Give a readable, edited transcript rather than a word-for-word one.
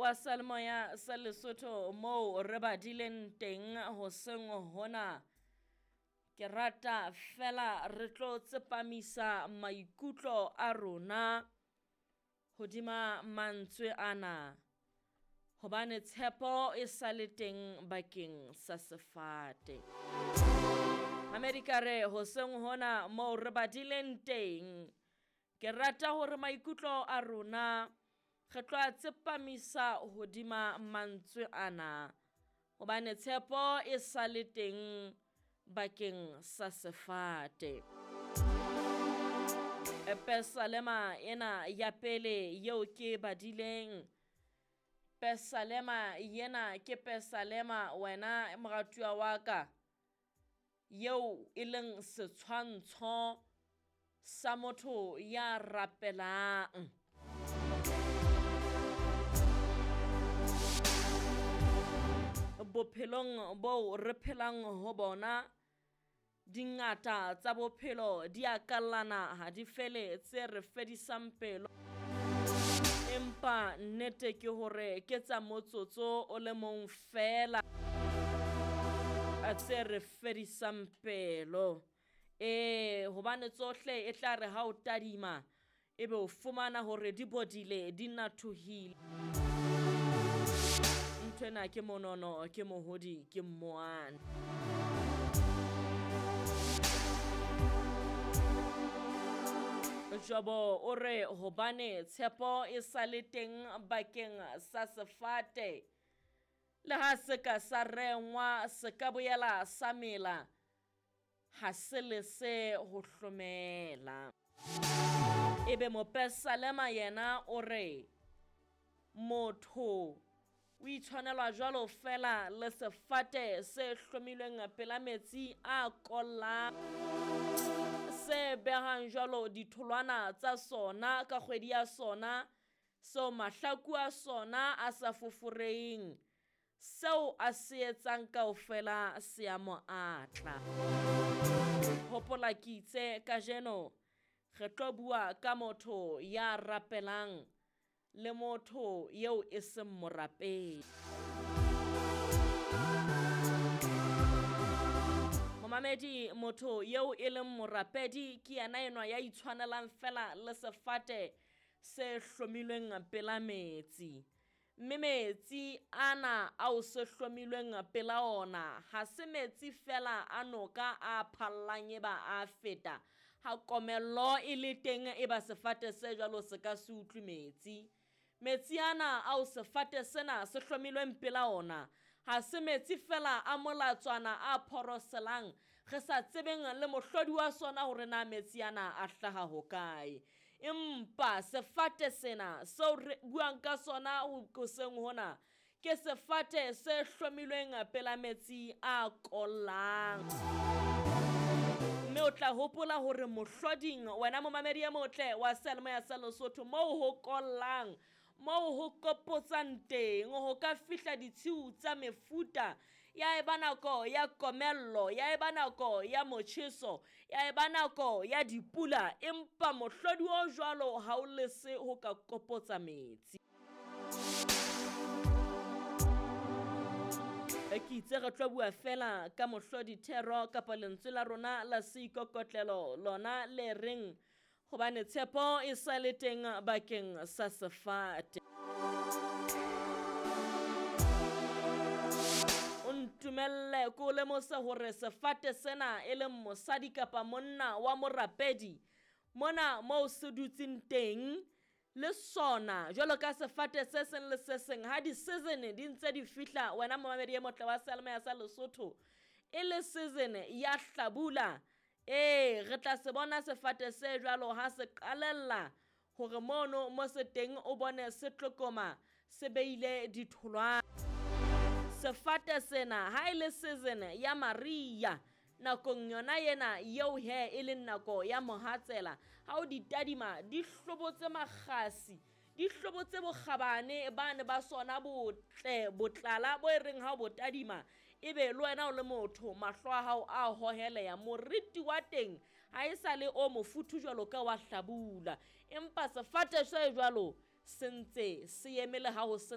wa Seyalemoya sa Lesotho moo re badileng teng hoseng hona. Ke rata fela re tlo tsepamisa maikutlo a rona hodima mantswe ana hobane tshepo e sa le teng bakeng sa sefate. Amerika re hoseng hona moo re badileng teng. Ke rata hore maikutlo a rona re tlo a tsepamisa hodima mantswe ana hobane tshepo e sa le teng bakeng sa sefate. Pesalema ena ya pele yeo ke badileng, pesalema yena ke pesalema wena moratuwa wa ka yeo e leng setshwantsho sa motho ya rapelang. Bophelong bo re phelang ho bona, dingata tsa bophelo di a kallana ha di fele tse re fedisang pelo. Empa nnete ke hore ke tsa motsotso o le mong fela tse re fedisang pelo. Hobane tsohle e tla re ha o tadima ebe o fumana hore di bodile, di nathohile. Nthwena ke monono, ke mohodi, ke mmoane. Jobo o re hobane tshepo e sa le teng bakeng sa sefate, le ha se ka sa rengwa se ka boela sa mela, ha se lese ho hlomela. Ebe mopesalema yena o re motho o itshwanelwa jwalo fela le sefate se hlomilweng pela metsi a kollang, se behang jwalo ditholwana tsa sona ka kgwedi ya sona, seo mahlaku a sona a sa foforeheng, seo a se etsang kaofela se a mo atla. Hopola ke itse kajeno re tlo bua ka motho ya rapelang le motho eo e seng morapedi. Momamedi, motho eo e leng morapedi ke yena enwa ya itshwanelang fela le sefate se hlomilweng pela metsi. Mme metsi ana ao se hlomilweng pela ona ha se metsi fela a noka a phallang e ba a feta. Ha komello e le teng e ba sefate se jwalo se ka se utlwe metsi. Metsi ana ao sefate sena se hlomilweng pela ona ha se metsi fela a molatswana a phoroselang, re sa tsebeng le mohlodi wa sona hore na metsi ana a hlaha hokae. Empa sefate sena seo re buang ka sona hoseng hona ke sefate se hlomilweng pela metsi a kollang. Mme o tla hopola hore mohloding, wena momamedi e motle wa Seyalemoya sa Lesotho, moo ho kollang, moo ho kopotsang teng, ho ka fihla ditshiu tsa mefuta, ya eba nako ya komello, ya eba nako ya motjheso, ya eba nako ya dipula, empa mohlodi o jwalo ha o lese ho ka kopotsa metsi. Ke itse re tlo bua fela ka mohlodi thero kapa lentswe la rona la seikokotlelo lona le reng hobane tshepo e sa le teng bakeng sa sefate. O ntumelle ko lemose hore sefate sena e leng mosadi kapa monna wa morapedi mona moo se dutseng teng le sona jwalo ka sefate se seng le se seng ha di-season di ntse di fihla, wena momamedi e motle wa Seyalemoya sa Lesotho, e le season ya hlabula, re tla se bona sefate se jwalo ha se qalella hore mono mo se teng o bone se tlokoma se beile ditholwana. Sefate sena ha e le season ya mariha, nakong yona ena eo he e leng nako ya mohatsela, ha o di tadima di hlobotse makgasi, di hlobotse bokgabane bane ba sona botle botlala bo e reng ha o bo tadima ebe le wena o le motho mahlo a hao a hoheleya, moriti wa teng ha e sa le o mofuthu jwalo ka wa hlabula. Empa sefate se jwalo se ntse se eme le ha ho se